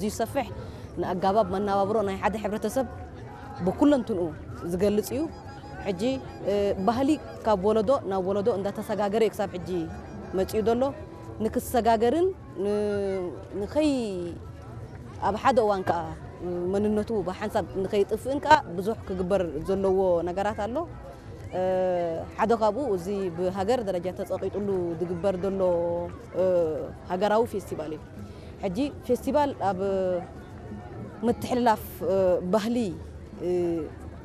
እዚ ዝሰፍሕ ንኣጋባብ መነባብሮ ናይ ሓደ ሕብረተሰብ ብኩለንትንኡ ዝገልጽ እዩ። ሕጂ ባህሊ ካብ ወለዶ ናብ ወለዶ እንዳተሰጋገረ እዩ ክሳብ ሕጂ መጺኡ ዘሎ። ንክሰጋገርን ንኸይ ኣብ ሓደ እዋን ከዓ መንነቱ ብሓንሳብ ንኸይጥፍእን ከዓ ብዙሕ ክግበር ዘለዎ ነገራት ኣሎ። ሓደ ካብኡ እዚ ብሃገር ደረጃ ተፀቂጥሉ ዝግበር ዘሎ ሃገራዊ ፌስቲቫል እዩ። ሕጂ ፌስቲቫል ኣብ ምትሕልላፍ ባህሊ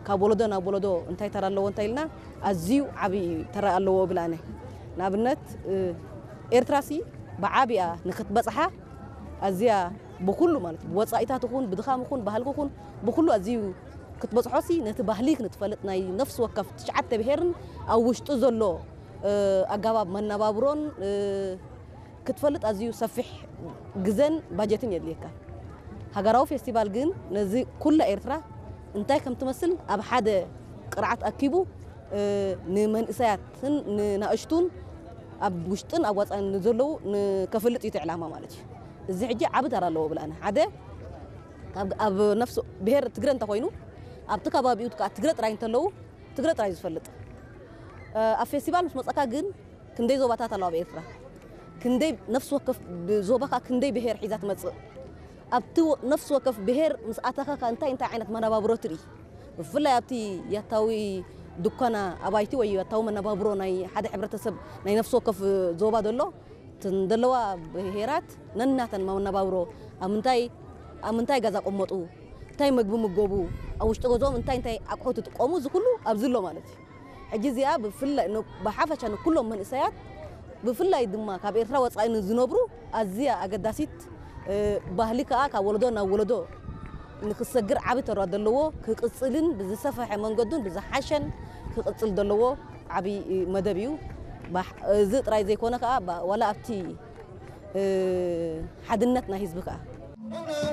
ካብ ወለዶ ናብ ወለዶ እንታይ ተራ ኣለዎ እንታይ ኢልና ኣዝዩ ዓብዪ ተራ ኣለዎ ብላነ። ንኣብነት ኤርትራሲ ብዓቢያ ንክትበፅሓ ኣዝያ ብኩሉ ማለት ብወፃኢታት ይኹን ብድኻም ይኹን ባህልኪ ይኹን ብኩሉ ኣዝዩ ክትበፅሖሲ ነቲ ባህሊ ክንትፈልጥ ናይ ነፍሲ ወከፍ ትሽዓተ ብሄርን ኣብ ውሽጡ ዘሎ ኣጋባብ መነባብሮን ክትፈልጥ ኣዝዩ ሰፊሕ ግዘን ባጀትን የድልየካ። ሃገራዊ ፌስቲቫል ግን ነዚ ኩላ ኤርትራ እንታይ ከም ትመስል ኣብ ሓደ ቅርዓት ኣኪቡ ንመንእሰያትን ንናእሽቱን ኣብ ውሽጥን ኣብ ወፃእን ንዘለዉ ንከፈልጥ እዩ እቲ ዕላማ ማለት እዩ። እዚ ሕጂ ዓቢ ተራ ኣለዎ ብላና ሓደ ኣብ ነፍሲ ብሄር ትግረ እንተኮይኑ ኣብቲ ከባቢኡ ትግረ ጥራይ እንተለዉ ትግረ ጥራይ ዝፈልጥ ኣብ ፌስቲቫል ምስ መፀካ ግን ክንደይ ዞባታት ኣለዋ ኣብ ኤርትራ? ክንደይ ነፍሲ ወከፍ ዞባ ከዓ ክንደይ ብሄር ሒዛ ትመፅእ? ኣብቲ ነፍሲ ወከፍ ብሄር ምስ ኣተኻ ከዓ እንታይ እንታይ ዓይነት መነባብሮ ትርኢ? ብፍላይ ኣብቲ ያታዊ ድኳና ኣባይቲ ወይ ያታዊ መነባብሮ ናይ ሓደ ሕብረተሰብ ናይ ነፍሲ ወከፍ ዞባ ዘሎ እተን ዘለዋ ብሄራት ነናተን መነባብሮ ኣብ ምንታይ ኣብ ምንታይ ገዛ ቀመጡ እንታይ መግቢ ምገቡ ኣብ ውሽጢ ገዝኦም እንታይ እንታይ ኣቑሑት ይጥቀሙ እዚ ኩሉ ኣብዚ ኣሎ ማለት እዩ። ሕጂ እዚኣ ብፍላይ ብሓፈሻ ንኩሎም መንእሰያት ብፍላይ ድማ ካብ ኤርትራ ወፃኢ ንዝነብሩ ኣዝያ ኣገዳሲት ባህሊ ከዓ ካብ ወለዶ ናብ ወለዶ ንክሰግር ዓቢ ተራ ዘለዎ ክቅፅልን ብዝሰፈሐ መንገዱን ብዝሓሸን ክቅፅል ዘለዎ ዓቢ መደብ እዩ። እዚ ጥራይ ዘይኮነ ከዓ ዋላ ኣብቲ ሓድነት ናይ ህዝቢ ከዓ